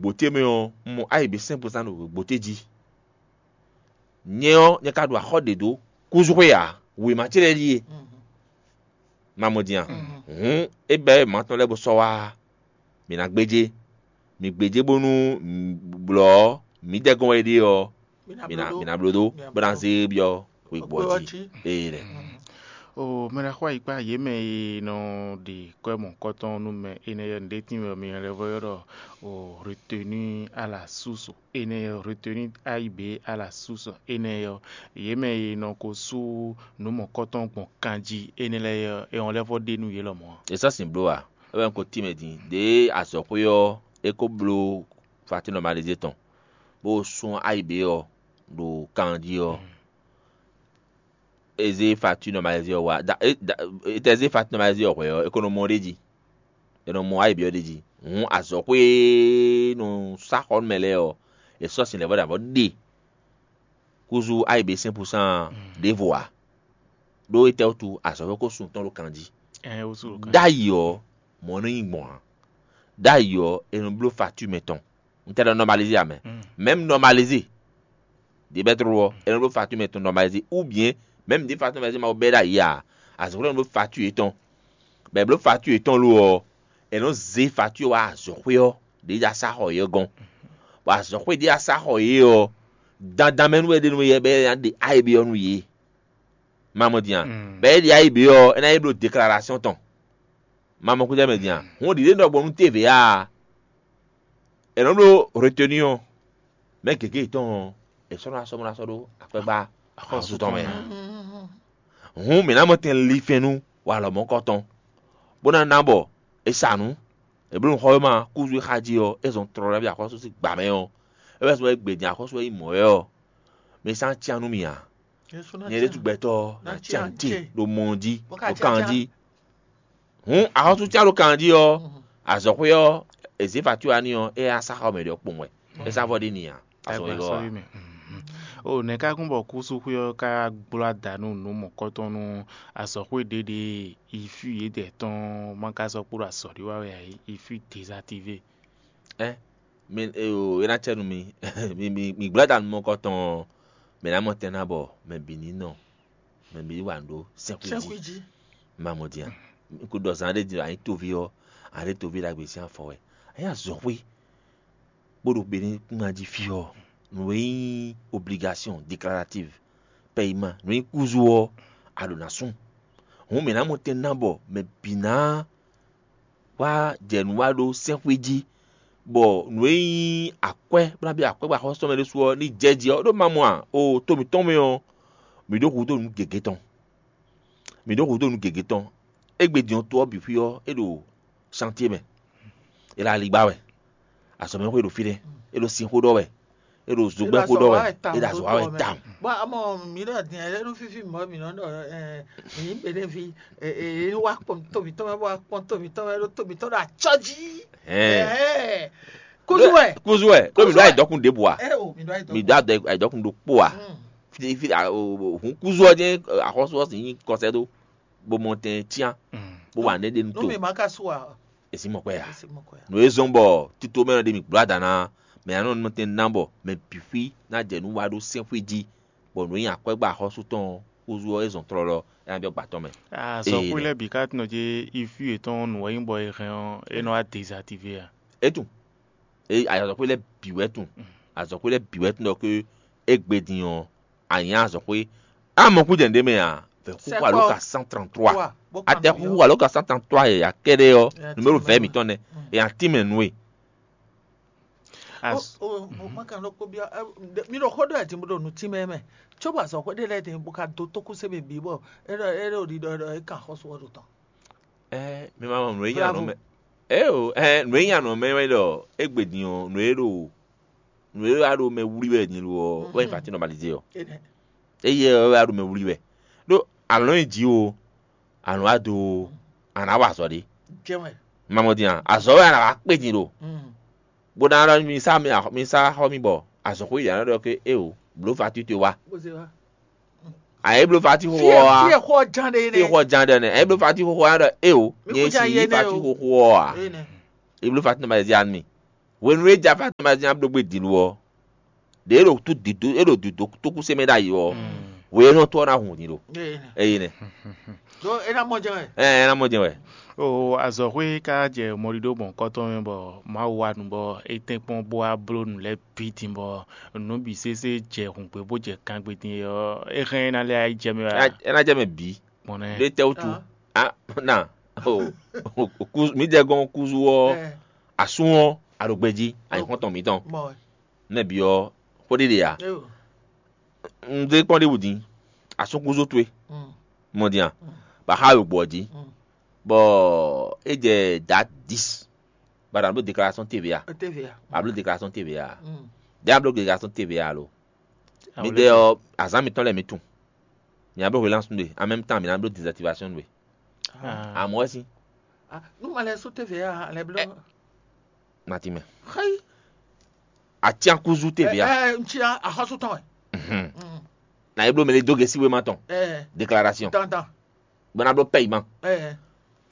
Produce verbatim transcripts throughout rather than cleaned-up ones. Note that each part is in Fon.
Gbǒté mɛ ɔ́, un mɔ ayǐ bǐ sɛ́n gbɔn zán ɖo gbǒté jí. Nyɛ ɔ́, nyɛ ka ɖo axɔ́ ɖě dó kúzúxwé ǎ. Wěma ce lɛ́ɛ ɖíe. Ma mɔ din a? Hǔn é bɛ́ wěma tɔn lɛ́ɛ bó sɔ́ wá. Mǐ ná gbéjé. Mǐ gbéjé bónú blɔ̌ mǐdɛɛ gɔ́n wɛ é ɖe ɔ́, mǐ ná mǐ ná bló dó, bó ná zé byɔ́ wěgbɔ́ jí. Ee lɛ. O mɛ ɖaxó ayǐkpa yě mɛ e nɔ ɖe kwɛ́ mɔ̌kɔtɔn nú mɛ énɛ́ ɔ́, nǔɖé tín wɛ mi lɛ́ vɔ ylɔ́ ɖɔ o retenue à la source énɛ́ ɔ́, retenue A I B à la source énɛ́ ɔ́, yě mɛ e nɔ ko sú nǔ mɔ̌kɔtɔn gbɔn kan jí énɛ́ lɛ́ɛ ɔ́, é hɔn lɛ́ vɔ ɖe nú yě lɔmɔ̌ ǎ. È sɔ́ sin bló a? É wɛ un ko tín mɛ din. Ɖěe azɔ̌xwé ɔ́, é ko bló fatín nɔmalizé tɔn, bó sú A I B ɔ́ ɖo kan jí ɔ́, é zé fatín nɔmalizé ɔ́ wá. Da, é, da, é tɛ zé fatín nɔmalizé ɔ́ hwɛ̌ ɔ́, é ko nɔ mɔ ɖ'é jí. È nɔ mɔ ayǐ byɔ́ ɖ'é jí. Hǔn azɔ̌xwé e nɔ sá xɔ nú mɛ lɛ́ɛ ɔ́, è sɔ́ sin lɛ̌vɔ́ ɖě avɔ ɖe kúzú ayǐ bǐ sɛ́n pusán ɖěvo ǎ. Ɖó étɛ́ wútu azɔ̌xwé ko sun tɔn ɖo kan jí? Ɛn, é wútu ɖo kan. Ɖ'ayǐ ɔ́, mɔ̌ nɔ nyí gbɔn ǎ. Ɖ'ayǐ ɔ́, è nɔ bló fatín mɛ tɔn. Un tɛ ɖɔ nɔmalizé ǎ mɛ. Mɛ̌m nɔmalizé ɖě bɛ́ tlóló ɔ́, è nɔ bló fatín mɛ tɔn nɔmalizé, ou bien mɛ̌m ɖě fatín nɔmalizé ma ko bɛ́ ɖ'ayǐ ǎ, azɔ̌xwé nɔ bló fatín yětɔn. Bɔ è blǒ fatín yětɔn lo ɔ́, è nɔ zé fatín ɔ́ wá azɔ̌xwé ɔ́ ɖě jɛ asá xɔ yě ɔ́ gɔ́n. Bɔ azɔ̌xwé ɖě asá xɔ yě ɔ́, dandan mɛ nú wɛ ɖe nú yɛ bɔ é ná ɖe ayǐ byɔ́ nú yě. Ma mɔ din a? Bɔ é ɖe ayǐ byɔ́ ɔ́, é ná yi bló deklarásyɔn tɔn. Ma mɔ kújɛ mɛ din a? Hǔn ɖǐɖe nɔ gbɔn nú tévě a? È nɔ bló retenue ɔ́, mɛ gěgé yětɔn ɔ́, è sɔ́ nɔ asɔ́ bó ná sɔ́ ɖó akwɛ́gbá axɔ́sú tɔn mɛ ǎ. Hǔn mǐ ná mɔ tɛn linfɛ́nnu walɔ mɔ̌kɔtɔn, bó ná ná bɔ è sa nǔ. È blǒ nǔxɔ́wéma kúzu e xá jí ɔ́, é zɔn tlɔlɔ́ví axɔ́sú sín gbǎ mɛ ɔ́, é wɛ zɔ́n wɛ gbě din axɔ́sú e nyí mɔ̌ wɛ ɔ́, mi sán cyán nú mì ǎ. Nyɛ ɖésú gbɛtɔ́ ɔ́, ná cyán ce ɖo mɔ ɔ́ jí, ɖo kan ɔ́ jí. Hǔn axɔ́sú cyán ɖo kan ɔ́ jí ɔ́, azɔ̌xwé ɔ́, è zě fatíwá n'i ɔ́, é yá sá xɔ mɛ ɖě ɔ́ kpowun wɛ. É sá vɔ ɖi n'i ǎ. Azɔ̌ wegɔ́ ɔ́ a? O nɛ̌ ká kún bɔ kúsúxwé ɔ́ ka gbló ada nú nǔ mɔ̌kɔtɔn nú azɔ̌xwé ɖěɖě e yi fí yědɛɛ tɔn ma ka sɔ́ kpo ɖo azɔ̌ ɖé wa wɛ ǎ é? Yi fí dezaktivé. Ɛ mi e o é ná cɛ nú mi. Mi mi mi gbló ada nú mɔ̌kɔtɔn ɔ́, mɛ ná mɔ tɛn ná bɔ mɛ bǐ ní nɔ, mɛ bǐ ní wa nǔ ɖó sɛ́nxwé jí. Sɛ́nxwé jí. Ma mɔ din a? Un ko ɖɔ zan ɖé din a nyǐ toví ɔ́, a ɖé toví ɖagbe sín afɔ wɛ. A nyǐ azɔ̌xwé bó ɖo Benɛ́ kúngan jí fí ɔ́, nǔ e nyí obligation déclarative, payement, nǔ e nyí kúzu ɔ́, a ɖǒ ná sú. Hǔn mǐ ná mɔ tɛn ná bɔ mɛ bǐ ná wá jɛ nǔ wa ɖó sɛ́nxwé jí, bɔ nǔ e nyí akwɛ́ bó ná byɔ́ akwɛ́ bɔ axɔ́sú tɔn mɛ ɖésú ɔ́ ní jɛ jí ɔ́, ɖó ma mɔ a? O to mǐtɔn mɛ ɔ́, mǐ ɖó hudó nǔ gěgé tɔn. Mǐ ɖó hudó nǔ gěgé tɔn. Égbé din ɔ́, to ɔ́ bǐ xwí ɔ́, é ɖo chantier mɛ. É ɖo aligbá wɛ. Azɔ̌mɛxwé ɖo fínɛ́. É ɖo sinxó ɖɔ wɛ. É ɖo zogbɛ́xó ɖɔ wɛ. É ɖo azɔ̌ wa wɛ tawun. Bɔn amɔ mǐ ɖɔ din ɛ nú fífí mɔ̌ mǐ nɔ ɖɔ ɛ mǐ nyí Benɛ́ví ɛ ɛ wa kpɔn to mǐtɔn mɛ bɔ wa kpɔn to mǐtɔn mɛ ɖó to mǐtɔn ɖo acɔ́ jí. Ɛɛ. Kúzú wɛ. Kúzú wɛ. Ɖó mǐ ɖó ayǐdɔkun ɖěbǔ a? Ɛ o mǐ ɖó ayǐdɔkun. Mǐ ɖó ayǐdɔkun ɖokpó a? Fi fi a o o hun kúzú ɔ́ jɛ́n axɔ́sú ɔ́ sin nyí kɔsɛ́ ɖó bó mɔ tɛn cyán bó wa nɛ́ ɖe nú to. Nú mi ma ka su a? Èsì mɔ kwɛ ya. Èsì mɔ kwɛ ya. Nǔ e zɔ́n bɔ tito mɛ ɖe mi gblo adana mɛ anɔ nɔ tɛn ná bɔ mɛ bǐ xwí ná jɛ nú wa ɖó sɛ́nxwé jí bɔ nǔ e nyi akwɛ́gbá axɔ́sú tɔn ɔ́ húzú ɔ́ é zɔn tlɔlɔ é ná byɔ́ gbǎ tɔn mɛ. Azɔxwé lɛ́ɛ bǐ ka tunɔ jí ifi yětɔn nǔ e nyí bɔ è hɛn ɔ́ é nɔ wá dezaktivé a? É tunwun. É azɔxwé lɛ́ɛ bǐ wɛ tunwun. Azɔxwé lɛ́ɛ bǐ wɛ tunwun ɖɔ ké égbé din ɔ́, a nyǐ azɔ̌xwé. A mɔ kú jɛ nǔɖé mɛ ǎ, vɛ̌ xúxú alo ka cent trente-trois. A tɛ xúxú alo ka cent trente-trois yɛ ya kɛɖɛ ɔ́, numéro vɛ̌ mǐtɔn nɛ. E ya tín mɛ nú we. Mi ɖo xó ɖɔ ɛ din bó ɖo nǔ tín mɛ mɛ. Cóbɔ azɔ̌xwé ɖé lɛ́ɛ din bó ka dó tókúsé mɛ bǐ bɔ é ɖɔ é ɖo ɖiɖɔ é ɖɔ é kan xɔ́sú ɔ́ ɖo tɔn. Ɛ mi ma mɔ nǔ e nya nɔ mɛ. Eo, ɛ nǔ e nya nɔ mɛ wɛ ɖɔ égbé din ɔ́, nǔ e ɖo nǔ e wá ɖo mɛ wlí wɛ din lo ɔ́, wɛ nyí fatín nɔmalizé ɔ́. Énɛ́. Éyɛ́ ɔ́ wɛ wá ɖo mɛ wlí wɛ. Ɖó alɔ̌ nyi jǐ o, alɔ̌ wá do o, a nǎ wa azɔ̌ ɖé. Jɛ́n wɛ. Ma mɔ din a? Azɔ̌ wɛ a nǎ wá kpé din ɖo. Mm. Bó ná ɖɔ mi sá mi axɔ- mi sá xɔ mi bɔ azɔ̌xwé yě ná ɖɔ ké eo, blǒ fatín towe wá. Bó zé wá. A yě blǒ fatín xóxó Fie ɔ́ wá. Fie xɔ jan ɖe Fie nɛ. Xɔ jan ɖe nɛ. A yě blǒ fatín xóxó wá ɖɔ eo, Mi nyɛ kú jan si yé yí nɛ fatín o. Xóxó ɔ́ a? Énɛ́. Yě blǒ fatín nɔmalizé a nú mi. Hwenu e Jafati ma jɛ́n bló gbé din ɔ́, ɖě é ɖo tú dǐdó é ɖo dǐdó tókúse mɛ ɖ'ayǐ ɔ́, hwenɛ́nɔ tɔ́ ɔ́ ná hun din ɖo. Eye nɛ. Ɖó é ná mɔ jɛ wɛ. Ɛ ɛ ná mɔ jɛ wɛ. O azɔxwé ka jɛ mɔɖiɖo gbɔn kɔ́tɔn mɛ bɔ Mawu wa nu bɔ é tɛ́nkpɔ́n bó wá bló nǔ lɛ́ɛ bǐ din bɔ nǔ bǐ sésé jɛ hǔngbé bó jɛ kangbé din é ɔ́, é hɛn é ná lɛ́ jɛ mɛ wɛ. É ná jɛ mɛ bǐ. Gbɔn nɛ. Ɖé tɛ́ wútu. Ah, na. Oh, mǐdɛɛ gɔ́n kúzu ɔ́, asún ɔ́, aɖo gbejí, anyixɔ́ntɔn mǐtɔn. Nɛ́ bǐ ɔ́, xó ɖé ɖe ǎ. Un zé kpɔ́n ɖěbǔ din, asún kúzu towe, mɔ din a, bɔ axá wěgbó ɔ́ jí, bɔ é jɛ dǎ dǐs, bɔ a nǎ bló déclaration T V A, T V A. a bló déclaration T V A, dě a bló déclaration T V A lo. Mǐdɛɛ ɔ́, azǎn mǐtɔn lɛ́ɛ mǐ tunwun. Mǐ ná bló hwelánsu nú we, en même temps mǐ ná bló désactivation nú we. Amɔ̌ wɛ sín. Nú ma lɛ́ sú T V A lɛ́ bló. Nati mɛ. Xéyi. Atíankúzú T V A. Ɛ ɛ ntsia axɔ́sú tɔn wɛ. Na é bló mɛ lé dó gɛ́sí wéma tɔn. Ɛ Déclaration. Dandan. Bɔ ná bló paiement. Ɛ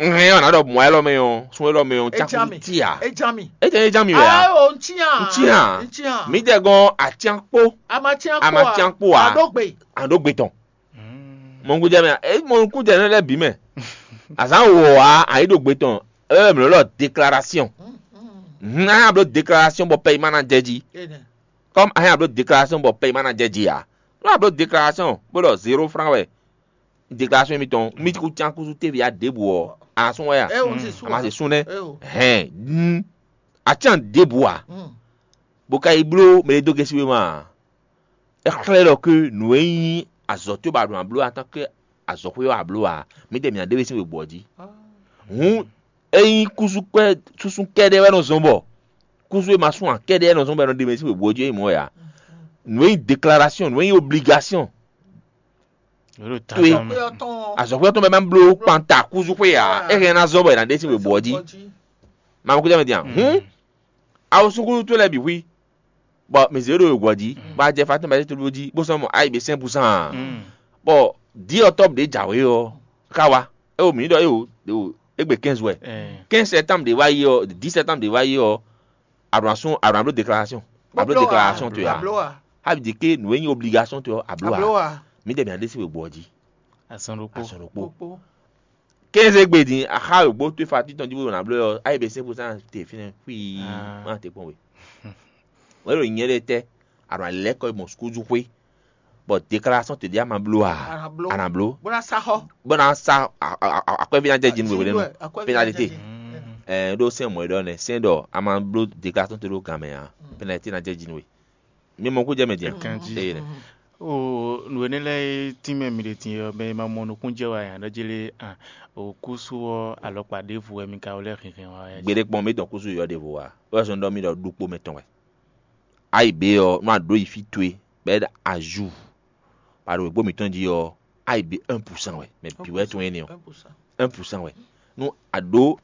Nhɛn ɔ́, nǎ ɖɔ mɔ̌ élɔ́ mɛ ɔ́, sún élɔ́ mɛ ɔ́, Ejami. Tia. Ejami. É jẹ́ é ján mi wɛ a? Ayo ntsia. Ntsia. Ntsia. Mǐ jɛ gɔ́n atíankpó. Amatsiankpo. Amatsiankpo a? Adógbe. Àdógbe tɔn. Mɔnukúnjɛ mɛ, é mɔnukúnjɛ nɔ lɛ́ bǐ mɛ. Azǎn wò a, àyíɖogbe tɔn, ɛ mǐ lɔ déclaration. Hun ayé abló déclaration bɔ paiement ná jɛ jí. Ene. Comme ayé abló déclaration bɔ paiement ná jɛ jí a? Nú abló déclaration bó ɖɔ zéro franc wɛ déclaration émitɔn, mí kú cán kúsú T V A ɖěbǔ ɔ́, a sún wɛ a? Ɛ o ti su. A ma se sún nɛ́. Ɛ o. Hɛn, a cán ɖěbǔ a? Bó ka yi bló mɛ e dó gɛ́sí wéma a? É xlɛ́ ɖɔ ké nǔ e nyí azɔ̌ towe ba ɖo nǎ bló a tán ké azɔ̌xwé ɔ́ a bló a, mǐdɛɛ mǐ ná ɖe we sín wěgbɔ́ jí. Hǔn ényí kúsú kpɛ́ súsú kɛ́ɖɛ́ wɛ nɔ zɔ́n bɔ kúsú e ma sún ǎ kɛ́ɖɛ́ wɛ nɔ zɔ́n bɔ è nɔ ɖe we sín wěgbɔ́ jí é mɔ̌ wɛ a? Nǔ e nyí déclaration, nǔ e nyí obligation, Yóò Towe. tán Pé ɔtɔn. Azɔ̌xwé ɔ́ tɔn bɛ ma bló kpanta kúzú xwé ǎ, é hɛn ná zɔ́n bɔ è nǎ ɖe sín wěgbɔ́ jí. Mamɔ kújá mɛ din a? Hǔn awo súkúlú towe lɛ́ɛ bǐ xwí, bɔ mǐ zé ɖo wěgbɔ́ jí, bɔ a jɛ Fatima bɛ́ tóbló jí, bó sɔ́ mɔ ayǐ bě sɛ́n búsán a? Bɔ dǐ ɔ́ tɔ́ ɖě jǎwe ɔ́, ká wá, é wo mǐ ɖɔ é wo é wo égbé quinze wɛ. Quinze septembre ɖě wá yi ɔ́, dix septembre ɖě wá yi ɔ́, a ɖo asún a ɖo abló déclaration, abló déclaration towe a? Ablo a. Abi di ke nǔ e nyí obligation towe ɔ́, abló Ablo a? A. Mǐ ɖe mǐ ná ɖe sín wěgbɔ́ jí. Azɔn ɖokpó. Azɔn ɖokpó. Kpokpo. Quinze gbe din, axa wěgbó towe fa títɔn jí bó ɖo nǎ bló ɔ́, ayǐ bě sɛ́n búsán te fínɛ́ xwii, má te kpɔ́n we. Wěɖo nyɛ ɖe tɛ́, a ɖo alɛ̌ kɔ yi mɔ sukúzú xwé, bɔ déclaration te ɖě a ma bló a? A nǎ bló. A nǎ bló. Bó ná sá xɔ. Bó ná sa a- a- a- akwɛ́ví ná jɛ jí nú we wěɖé mɔ. Akwɛ́ví Pénalité. ná jɛ jí. Ɛ ɖó sɛn mɔ̌ é ɖɔ nɛ, sɛn ɖɔ a ma bló déclaration te ɖó gan mɛ a, pénalité ná jɛ jí nú we. Mi mɔ kú jɛ mɛ din a? Ganjí. Eye nɛ. O nǔ énɛ́ lɛ́ɛ e tínmɛ mi ɖe din ɔ́, mɛ e ma mɔ nukún jɛ wɛ a nǎ ɖɔ jélé a o kúsú ɔ́ alɔkpa ɖěvo wɛ mi ka wlɛ́ hinhɛn wá wɛ. Gbeɖé kpɔn mi dɔn kúsú yɔ ɖěvo wa. Wɛ sɔn ɖɔ mi ɖɔ ɖukpo mɛ tɔn wɛ. Ayi be ɔ, nú a ɖǒ yi fí towe, bɔ é ɖo azú. Ba ɖo wěgbó mǐtɔn jí ɔ́, ayi be un pour cent wɛ. Mɛ bǐ wɛ tɔn énɛ́ ɔ. Un pour cent. Un pour cent wɛ. Nú a ɖǒ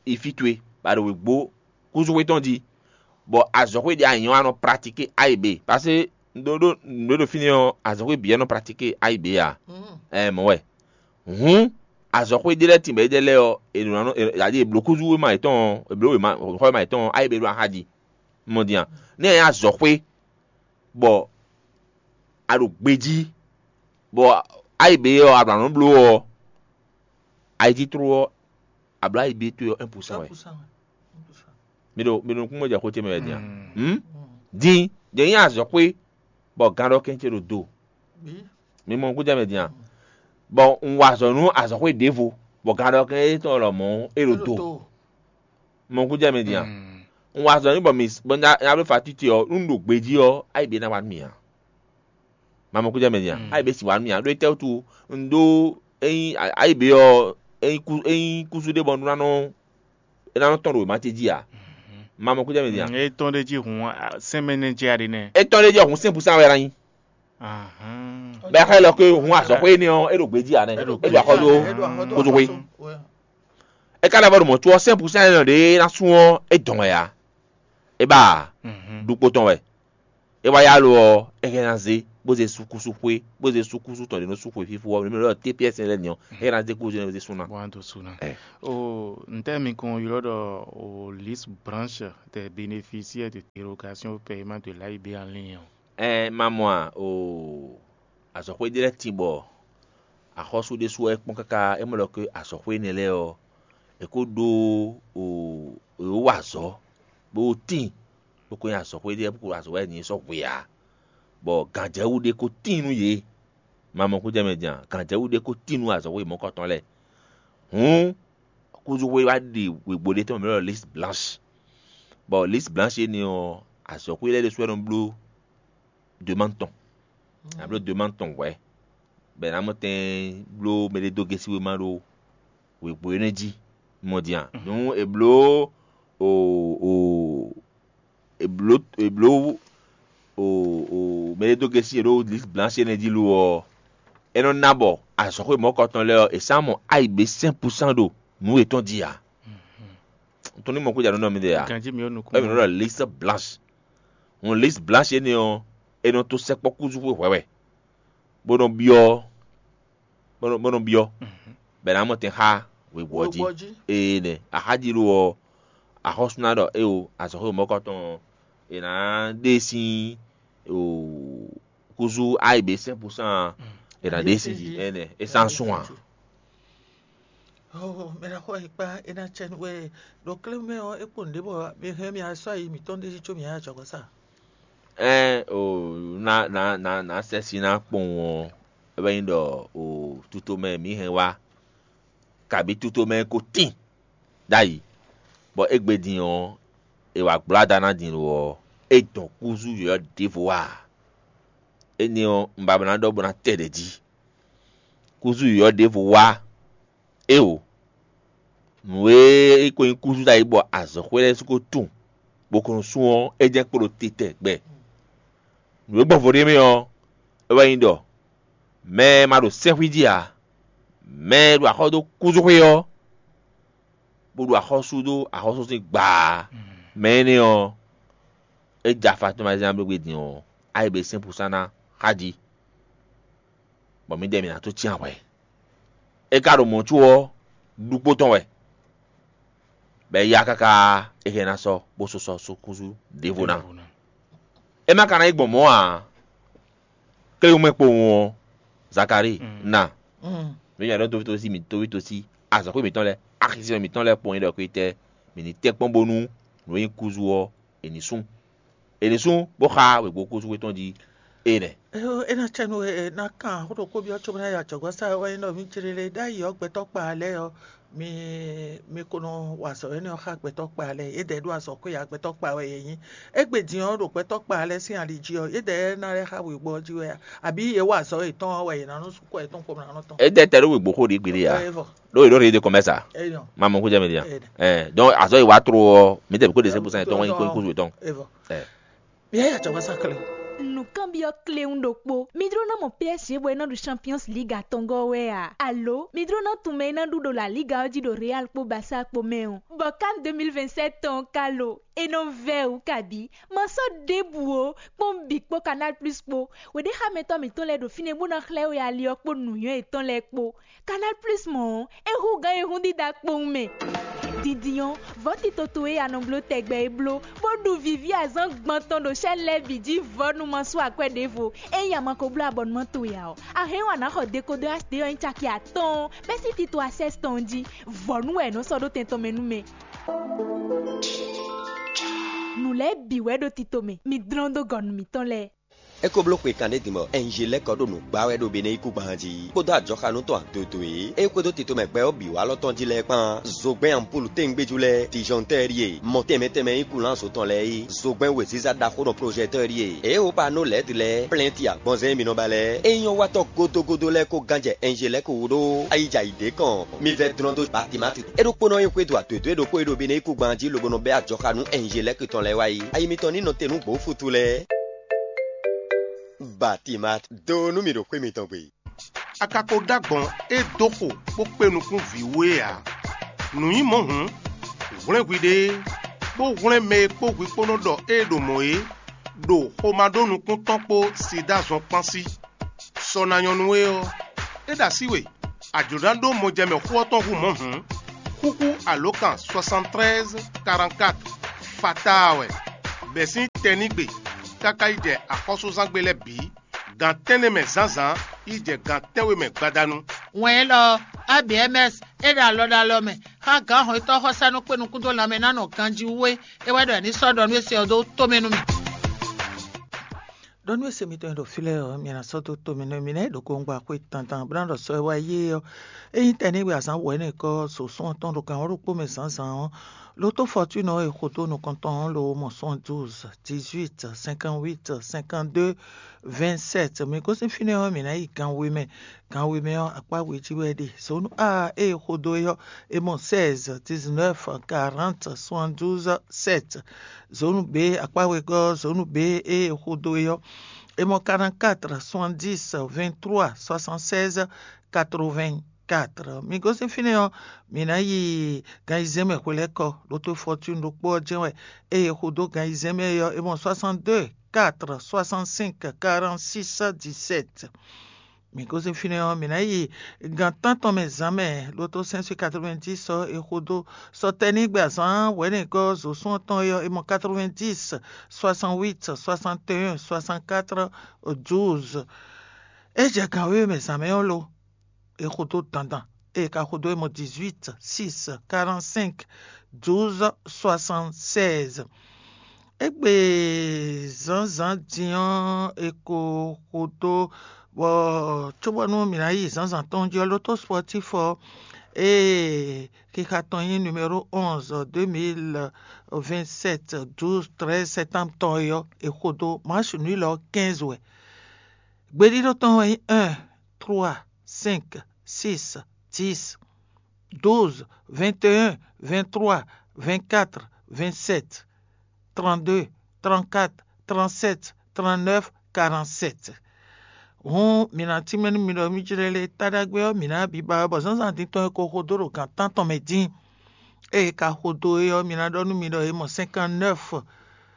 yi fí towe, ba ɖo wěgbó kúsú tɔn jí, bɔ azɔ̌xwé ɖě a nyɔ a nɔ pratiquer ayi be. Parce que ɖó ɖó ɖó ɖo fínɛ́ ɔ́, azɔ̌xwé bǐ wɛ nɔ pratiquer ayi be a? Ɛ mɔ̌ wɛ. Hǔn azɔ̌xwé ɖé lɛ́ɛ tin bɔ é ɖe lɛ́ɛ ɔ́, è nɔ nɔ è blǒ kúzú wéma yětɔn ɔ́, è blǒ wěma xɔ wéma yětɔn ɔ́, ayi be ɖo axa jí. Mɔ din a? Nɛ́ ɛ nyí azɔ̌xwé bɔ a ɖo gbejí, bɔ ayi be ɔ́ a ɖo anɔ̌ bló ɔ́, ayi jí tló ɔ́, a blǒ ayi be towe ɔ́ un pour cent wɛ. Un pour cent wɛ. Un pour cent. Mi ɖo mi ɖo nukúnmɛ jɛ xó ce mɛ wɛ din a? Hǔn din jɛ nyí azɔ̌xwé bɔ gan ɖɔ kɛn ce ɖo do. Bí. Mi mɔ nukún jɛ mɛ din a? Bɔ un wa azɔ̌ nú azɔ̌xwé ɖěvo, bɔ gan ɖɔ kɛn étɔn lɔmɔ̌ é ɖo do. Mɔ nukún jɛ mɛ din a? Un wa azɔ̌ nú bɔ mi bɔ nya nya bló fatiti ɔ́, nú un ɖo gbejí ɔ́, ayi be ná wa nú mi a? Mamɔ kújá mɛ din a? Ayi be si wa nú mi a? Ɖó étɛ́ wútu un ɖó ényí ayi be ɔ́, ényí kú ényí kúsú ɖé bɔ un ná nɔ é ná nɔ tɔn ɖo wěma ce jí a? Mamɔ kújá mɛ din a? É tɔn ɖé jí hun sɛmɛnɛ jɛ aɖe nɛ. Étɔn ɖé jɛ hun sɛn pusan wɛ la nyi. Ahán. Bɛ xɛ lɔ ke hun azɔxwe énɛ́ ɔ́, é ɖo gbejí a nɛ. É ɖo É ɖo akɔdo É ɖo axɔ́ kozo xwe. Ouais. É ka lɛ́ vɔ ɖo mɔ̌ có ɔ́, sɛn pusan énɛ́ ɖé ná sún ɔ́, é dɔn wɛ a? É ba a? Ɖukpo tɔn wɛ. É wá yá lo ɔ́, é hɛn ná zé. bó zé súkúsú xwé, bó zé súkúsú tɔn ɖě nɔ sú xwe fífó ɔ́, mǐ mɛ ɖɔ T P S lɛ́ɛ ni ɔ́, é ná zé kúzú ɔ́ zé sú ná. Bó ná dó sú ná. O ntɛ́ mi kɔn ylɔ́ ɖɔ o liste blanche des bénéficiaires de dérogation au paiement de l'A I B en ligne ɔ́. Ɛ ma mɔ a o azɔ̌xwé ɖé lɛ́ɛ tin bɔ axɔ́sú ɖésú wɛ é kpɔ́n káká é mɔ ɖɔ ké azɔ̌xwé énɛ́ lɛ́ɛ ɔ́, è kó ɖó o è wó wa azɔ̌ bó tíin bó ko nyí azɔ̌xwé ɖé bó ko azɔ̌ wɛ nyí sɔ́ hwe ǎ. Bɔ gǎnjɛwú ɖé ko tíin nú yě. Ma mɔ kújɛ mɛ din a? Gǎnjɛwú ɖé ko tíin nú azɔ̌xwé mɔ̌kɔtɔn lɛ́ɛ. Hǔn kúzúxwé wá ɖi wěgbó ɖé tɔn mɛ ɖɔ liste blanche. Bɔ liste blanche énɛ́ ɔ́, azɔ̌xwé lɛ́ɛ ɖésú wɛ nɔ bló demande tɔn. Ná bló demande tɔn hwɛ̌, bɔ è nǎ mɔ tɛn bló mɛɖé dó gɛ́síwéma ɖó wěgbó énɛ́ jí. Mɔ din a? Nú è bló o o è bló è bló o o mɛɖé dó gɛ́sí è ɖó liste blanche énɛ́ jí lo ɔ́, é nɔ ná bɔ azɔ̌xwé mɔ̌kɔtɔn lɛ́ɛ ɔ́, è sán mɔ ayǐ bě cinq pour cent ɖo nǔ yětɔn jí ǎ. Tɔn ní mɔ kó jà nú nɔ mi ɖe ǎ. Ganji mi ɔ́ nukún. Ɛ mi nɔ ɖɔ liste blanche. Hun liste blanche énɛ́ ɔ́, é nɔ tó sɛkpɔ́ kúzú xwe hwɛ̌ wɛ, bó nɔ byɔ́ bó nɔ bó nɔ byɔ́, bɔ è nǎ mɔ tɛn xá wěgbó ɔ́ jí. Wěgbó ɔ́ jí. Ee nɛ axájí ɖó ɔ́, axɔ́sú ná ɖɔ éwo azɔ̌xwé mɔ̌kɔtɔn ɔ́, è nǎ ɖe sín o kúzú ayǐ bě sɛ́n pusán ɔ́, è nǎ ɖe sín jí. Énɛ́ é sán sún ǎ. Mɛ ɖaxó e kpá é ná cɛ nú we ɖo klé mɛ ɔ́, é kpo nǔɖé bɔ mi hɛn mi asɔ ayi mǐtɔn ɖésú có mi nya jɔgɔ́ sa. Ɛn o na na na na sɛsi na kpɔn ɔ́, é wɛ nyí ɖɔ o tutomɛ mǐ hɛn wá, kabǐ tutomɛ ko tín ɖ'ayǐ, bɔ égbé din ɔ́, è wǎ gblɔ́ ada ná din lo ɔ́, é dɔn kúzú yɔ̌yɔ́ ɖěvo wá ǎ. Énɛ́ ɔ́, un ba ná ɖɔ bó ná tɛ ɖě jí. Kúzú yɔ̌yɔ́ ɖěvo wá éwo. Nǔ e é ko nyí kúzú ɖ'ayǐ bɔ azɔ̌xwé lɛ́ɛ sú ko tunwun, bó ko nɔ sú ɔ́, é jɛ́n kpo ɖo titɛ gbɛ. Nǔ e gbɔn vo ɖ'é mɛ ɔ́, é wɛ nyí ɖɔ mɛ e ma ɖo sɛ́xwí jí ǎ, mɛ e ɖo axɔ́ dó kúzúxwé ɔ́, bó ɖo axɔ́sú dó axɔ́sú sín gbaa, mɛ énɛ́ ɔ́, é jɛ afa tɔn ma zán gbégbé din ɔ́, ayǐ bě sɛ́n pusán ná xá jí, bɔ mǐdɛɛ mǐ ná tó cyán hwɛ̌. É ka ɖo mɔ̌ có ɔ́, ɖukpó tɔn wɛ, bɔ é yá káká é hɛn ná sɔ́ bó sɔ́ sɔ́ sú kúzú ɖěvo ná. É ma ka ná yi gbɔn mɔ̌ ǎ. Kléwúmɛ kpowun ɔ́, Zakalíi na. Mǐ nya ɖɔ tóvítósi mǐ tóvítósi azɔ̌xwé mǐtɔn lɛ́ɛ, axisínɔ mǐtɔn lɛ́ɛ kpɔ́n nyí ɖɔ kwétɛ́ mǐ ní tɛ́ kpɔ́n bónú nǔ e nyí kúzu ɔ́, è ní sú. È ní sú bó xá wěgbókúzú tɔn jí. É nɛ́. Eyo, é ná cɛ nú we ná kan xó ɖokpó byɔ́ cóbó ná yi ajɔ̌gbɔ́ sa wɛ nyí ɖɔ mǐ céɖéɖé ɖ'ayǐ ɔ́ gbɛtɔ́ kpa lɛ́ɛ ɔ́, mi mi ko nɔ wa azɔ̌ énɛ́ ɔ́ xá gbɛtɔ́ kpa lɛ́ɛ. Yědɛɛ ɖó azɔ̌ xwé ǎ, gbɛtɔ́ kpa wɛ yě nyí. Égbé din ɔ́ ɖo gbɛtɔ́ kpa lɛ́ɛ sín ali jí ɔ́, yědɛɛ ná lɛ́ xá wěgbó ɔ́ jí wɛ a? Àbí yě wa azɔ̌ yětɔn ɔ́ wɛ yě ná nɔ sú kɔ yětɔn kpɔ́n ná nɔ tɔn? É dɛ tɛ ɖó wěgbó xó ɖě gbeɖé ǎ. Ɖó yě ɖó rédíò kɔmɛ́sa. Éyɔ. Ma mɔ kújɛ mɛ dia. Ɛ, donc azɔ yi wa tro ɔ, mi tɛ bi ko de sɛ busan tɔn wani ko kuzu tɔn. Evɔ. Ɛ. Mi yɛ yà jɔ wasa kele. Nǔkanbyɔ́ kléwún ɖokpó. Mi jló ná mɔ P S G bɔ é ná ɖu Champions League atɔngɔ́ wɛ a? Alo mi jló ná tunwun mɛ e ná ɖu ɖo La Liga ɔ́ jí ɖo Real kpó Barça kpó mɛ ɔ́? Bɔ CAN deux mille vingt-sept tɔn ka lo? É nɔ vɛ́ wǔ kabǐ. Ma sɔ́ ɖěbǔ ó, kpɔ́n bǐ kpó Canal Plus kpó. Wěɖéxámɛtɔ́ mǐtɔn lɛ́ɛ ɖo fínɛ́ bó ná xlɛ́ we ali ɔ́ kpó nǔnywɛ́ yětɔn lɛ́ɛ kpó. Canal Plus mɔ ɔ́, é hú gǎn e hún dídá kpowun mɛ. Dindin ɔ́, vɔ̌ tito towe e a nɔ bló tɛgbɛ é bló, bó ɖu vǐví azǎn gbɔn tɔn ɖo sɛ́n lɛ́ɛ bǐ jí vɔ̌ nu ma sú akwɛ́ ɖěvo. Ényí a ma ko bló abɔnumán towe ǎ ɔ́, a hɛn ɔ́ a nǎ xɔ dekodɔ H D ɔ́ nyí caki atɔ́ɔ́n bɛ́ sín tito Access tɔn jí. Vɔ̌ nu wɛ è nɔ́ sɔ́ ɖó tɛn tɔn mɛ nú mɛ. Nǔ lɛ́ɛ bǐ wɛ ɖo tito mɛ, mi dlɔ́n dó gɔ̌ nú mǐtɔn lɛ́ɛ. É ko bló xwe kanɖé din bɔ Ɛnjelɛ́kɔ ɖo nǔ gbá wɛ ɖo Benɛ́yíkúngban jí, kpódó ajɔxanú tɔn adodo e é xwedó tito mɛ gbɛ ɔ́ bǐ wá lɔ tɔn jí lɛ́ɛ kpán. Zogbɛ́n anpúlu téngbéjú lɛ́ɛ, dijɔntɛ́ ɖíe, mɔ tɛnmɛ tɛnmɛ nyí kulánso tɔn lɛ́ɛ é, zogbɛ́n wěziza ɖaxó nɔ plɔ́jɛtɔ́ ɖíe, é xo panó lɛ̌ɛ́du lɛ́ɛ, plɛ́nti agbɔnzɛn e mi nɔ ba lɛ́ɛ, é nyɔ́ watɔ́ gódógódó lɛ́ɛ kó gán jɛ Ɛnjelɛ́kɔ wú ɖó ayijɛ ayǐ ɖé kɔn. Mi vɛ́ dlɔ́n dó Batimati. É ɖokpónɔ nyí xwédo adodo e ɖokpó e ɖo Benɛ́yíkúngban jí lobo nɔ bɛ́ ajɔxanú Ɛnjelɛ́kɔ tɔn lɛ́ɛ wá yi. Ayi mitɔn ní nɔ te nú gbǒfutu lɛ́ɛ. Batimat, do nú mì ɖo xwé mitɔn gbe. A ka ko ɖó agbɔ̌n e dó xo bó kpé nukún vǐ wú é ǎ. Nǔ nyí mɔ̌ hǔn, hwlɛ́n hwiɖée, bó hwlɛ́n mɛ e kpó hwi kpó nɔ ɖɔ ée ɖo mɔ̌ é, ɖo xomá ɖó nukún tɔn kpó sida zɔn kpán sí. Sɔ ná nyɔ́ nú we ɔ́, é ɖo así we, a jlǒ ná ɖó mɔjɛmɛ xó ɔ́ tɔn hú mɔ̌ hǔn, xúxú alǒkan soixante-treize quarante-quatre fataa wɛ, bɛ̌ sín tɛnígbe káká yi jɛ axɔ́súzángbe lɛ́ɛ bǐ, gan tɛ́nnɛ mɛ zǎnzǎn yi jɛ gan tɛ́nwe mɛ gbadanu. Wɛn élɔ́ ɔ́, A B M S é ɖo alɔ ɖo alɔ mɛ xá gǎn hɔnnyitɔ́ xɔsánú kpé nukún dó lanmɛ ná nɔ ganjí wú é. É wɛ ɖɔ è ní sɔ́ ɖɔ nú é se ɔ́ dó tomɛ nú mì. Ɖɔ nú é se mitɔn e ɖo fí lɛ́ɛ ɔ́, mi ná sɔ́ dó tomɛ nú mì nɛ́ ɖo kowungba xwé tantan bó ná ɖɔ sɔ́ e wá yé ɔ́, é nyí tɛnígbe azǎn wɛ̌nɛkɔ́ sǒsún ɔ́ tɔn ɖo gǎn ɔ́ ɖokpó mɛ zǎnzǎn ɔ́, lotó fɔtúnɔ e xo dó nukɔntɔn ɔ́ lo mɔ soixante-douze, dix-huit, cinquante-huit, cinquante-deux, vingt-sept. Mi gosín fínɛ́ ɔ́, mǐ ná yi gan we mɛ. Gan we mɛ ɔ́, akpá we jí wɛ é ɖe. Zǒnu A ée xo dó é ɔ́, é mɔ seize, dix-neuf, quarante, soixante-douze, sept. Zǒnu B, akpá wegɔ́ ɔ́, zǒnu B ée xo dó é ɔ́, é mɔ quarante-quatre, soixante-dix, vingt-trois, soixante-seize, quatre-vingt-quatre. Mi gosín fínɛ́ ɔ́, mǐ ná yi gan ayizɛ́n mɛ hwelɛ́kɔ, lotó fɔtúnu ɖokpó ɔ́ jɛ́n wɛ. Ée xo dó gan ayizɛ́n mɛ é ɔ́, é mɔ soixante-deux, quatre, soixante-cinq, quarante-six, dix-sept. Mǐ gosín fínɛ́ ɔ́, mǐ ná yi gan tántɔn mɛ zǎn mɛ, lotó sɛ́n sín quatre-vingt-dix ɔ́, è xo dó sɔtɛ́nígbe azǎn wɛ̌nɛgɔ́ zǒsún ɔ́ tɔn é ɔ́, é mɔ quatre-vingt-dix, soixante-huit, soixante et un, soixante-quatre, douze. É jɛ gan wěwe mɛ zǎn mɛ ɔ́ lo? È xo dó dandan. È ka xo dó é mɔ dix-huit, six, quarante-cinq, douze, soixante-seize. Égbé zǎnzǎn din ɔ́, è ko xo dó bɔ cóbɔ́nú mǐ ná yi zǎnzǎn tɔn jí ɔ́, lotó spɔtíf ɔ́, ée xixa tɔn nyí numéro onze, deux mille vingt-sept, douze, treize septembre tɔn é ɔ́, è xo dó March nǔ élɔ́ quinze wɛ. Gbeɖíɖó tɔn wɛ nyí un, trois, cinq, six, dix, douze, vingt et un, vingt-trois, vingt-quatre, vingt-sept, trente-deux, trente-quatre, trente-sept, trente-neuf, quarante-sept. Hǔn mǐ ná tínmɛ nú mi ɖɔ mí jlɛ́ lé taɖagbe ɔ́, mǐ ná bǐ ba wɛ bɔ zǎnzǎn din tɔn e ko xo dó ɖo gǎn tántɔn mɛ dín. Ée è ka xo dó é ɔ́, mi ná ɖɔ nú mi ɖɔ è mɔ cinquante-neuf,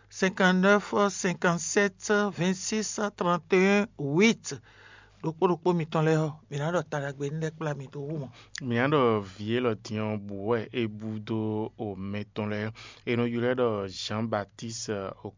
cinquante-neuf, cinquante-sept, vingt-six, trente et un, huit. Ɖokpó ɖokpó mitɔn lɛ́ɛ ɔ́, mǐ ná ɖɔ ta ɖagbe énɛ́ lɛ́ɛ kplá mi dó wú mɔ̌. Mǐ ná ɖɔ vǐ élɔ́ din ɔ́ bǔ wɛ é bú dó omɛ tɔn lɛ́ɛ. È nɔ ylɔ́ ɛ ɖɔ Jean Baptiste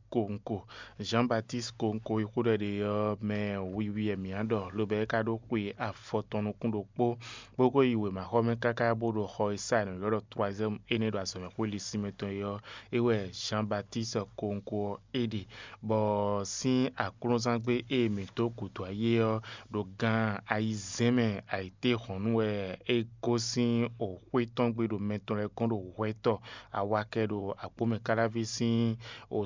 Konko. Jean Baptiste Konko e xó ɖɔ è ɖe ɔ́ mɛ wiwi wɛ mǐ ná ɖɔ, lobɛ́ é ka ɖó xwe afɔ tɔn nukún ɖokpó, bó ko yi wěmaxɔmɛ káká bó ɖo xɔ e sa è nɔ ylɔ́ ɖɔ troisième énɛ́ ɖo azɔ̌mɛxwé linsin mɛ tɔn é ɔ́, é wɛ Jean Baptiste Konko ɔ́ é ɖe. Bɔ sín aklúnɔzángbe e mǐ dó gǔdo ayé ɔ́, ɖo gan ayizɛ́n mɛ ayǐtéhɔ̌nnu wɛ é gosín xwé tɔn gbe ɖo mɛ tɔn lɛ́ɛ gɔ́n ɖo hwɛtɔ́ awakɛ ɖo agbǒmɛ káláví sín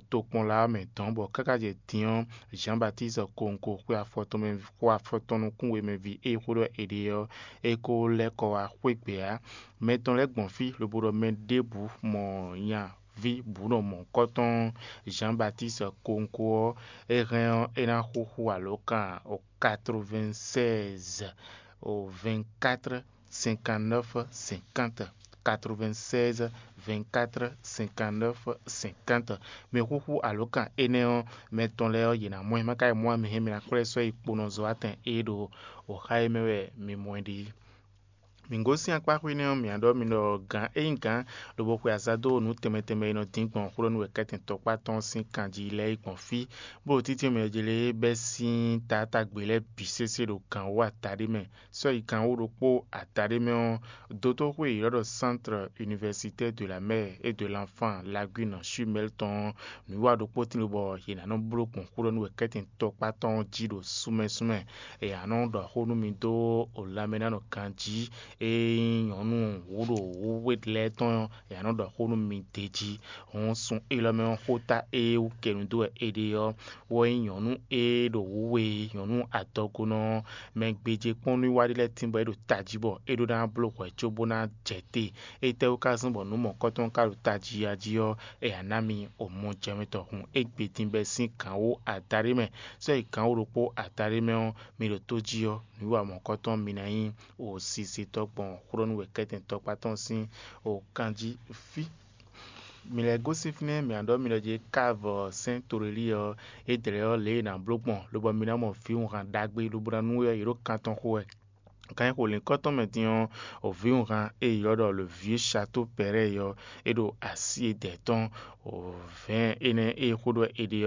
tokpɔnla ɔ́ mɛ dɔ̌n, bɔ káká jɛ din ɔ́, Jean Baptiste Konko xwe afɔ tɔn mɛ xwe afɔ tɔn nukún we mɛ ví e xó ɖɔ è ɖe ɔ́, é ko lɛ́ kɔ wá xwé gbe ǎ. Mɛ tɔn lɛ́ɛ gbɔn fí lobo ɖɔ mɛ ɖěbǔ mɔ nya ví bǔ nɔ mɔ̌hunkɔtɔn Jean Baptiste Konko ɔ́, é hɛn ɔ́, é ná xúxú alǒkan quatre-vingt-seize, vingt-quatre, cinquante-neuf, cinquante, quatre-vingt-seize, vingt-quatre, cinquante-neuf, cinquante. Mi xúxú alǒkan énɛ́ ɔ́, mɛ tɔn lɛ́ɛ ɔ́, yě ná mɔ ɛ. Má ka yi mɔ ɛ, mi hɛn mi ná kplɔ́ ɛ sɔ́ yi kponɔzɔ́watɛn e ɖo wǒxa e mɛ wɛ mi mɔ ɛ ɖe. Mǐ gosín akpá xwé nɛ́ ɔ́, mǐ ná ɖɔ mi ɖɔ gǎn é nyí gǎn lobo xwe azǎn dó nǔ tɛnmɛ tɛnmɛ e nɔ dín gbɔn xwlɔ́nú wɛ kɛ́tɛn tɔkpá tɔn sín kan jí lɛ́ɛ é gbɔn fí, bó ɖo títí mɛ jlé bɛ́ sín taátagbe lɛ́ɛ bǐ sésé ɖo gǎn wú adaɖé mɛ. Sɔ́ yi gǎn wú ɖokpó adaɖé mɛ ɔ́, dotóxwé e è ylɔ́ ɖɔ Centre Universitaire de la Mère et de l'Enfant Lagune Chumel tɔn ɔ́, nǔwiwa ɖokpó tín lobɔ yě ná nɔ bló gbɔn xwlɔ́nú wɛ kɛ́tɛn tɔkpá tɔn ɔ́ jí ɖo súnmɛsúnmɛ. È nǎ nɔ ɖɔ xó nú mi dó lanmɛnánɔ ganjí, e nyí nyɔ̌nu wǒ ɖo wǔwe lɛ́ɛ tɔn ɔ́, è nǎ nɔ ɖɔ xó nú mi d'é jí. Hǔn sun élɔ́ mɛ ɔ́, xóta e wú kɛnu dó wɛ è ɖe ɔ́, wɛ nyí nyɔ̌nu e ɖo wǔwe, nyɔ̌nu adɔgonɔ, mɛ gbéjé kpɔ́n nú wá ɖé lɛ́ɛ tín bɔ é ɖo tají bɔ é ɖó ná bló hwɛ̌ cóbó ná jɛ te. Étɛ́wú ka zɔ́n bɔ nǔ mɔ̌kɔtɔn ka ɖo tají a jí ɔ́, è nǎ ná mi omɔjɛmɛtɔn hun égbé din bɛ́ sín gǎn wú adaɖé mɛ. Sɔ́ yi gǎn wú ɖokpó adaɖé mɛ ɔ́, mi ɖo tó jí ɔ́, nǔwiwa mɔ̌kɔtɔn mi ná nyí osisitɔ́ gbɔn xwlɔ́nú wɛ kɛ́tɛn tɔkpá tɔn sín okanjí fí. Mi lɛ́ gosín fínɛ́, mǐ ná ɖɔ mi ɖɔ jí é ká vɔ sɛ́n tlólí ɔ́, é dlɛ̌ ɔ́ lě e è nǎ bló gbɔn, lobɔ mi ná mɔ vǐwunhan ɖagbe lobo ná nú we ɔ́, yě ɖo kan tɔn xo wɛ. Kan e xo lǐnkɔ́ tɔn mɛ din ɔ́, vǐwunhan e è ylɔ́ ɖɔ le vieux château Perret ɔ́, é ɖo así e dɛ̌ tɔn. Vɛ̌ɛn énɛ́ e xó ɖɔ è ɖe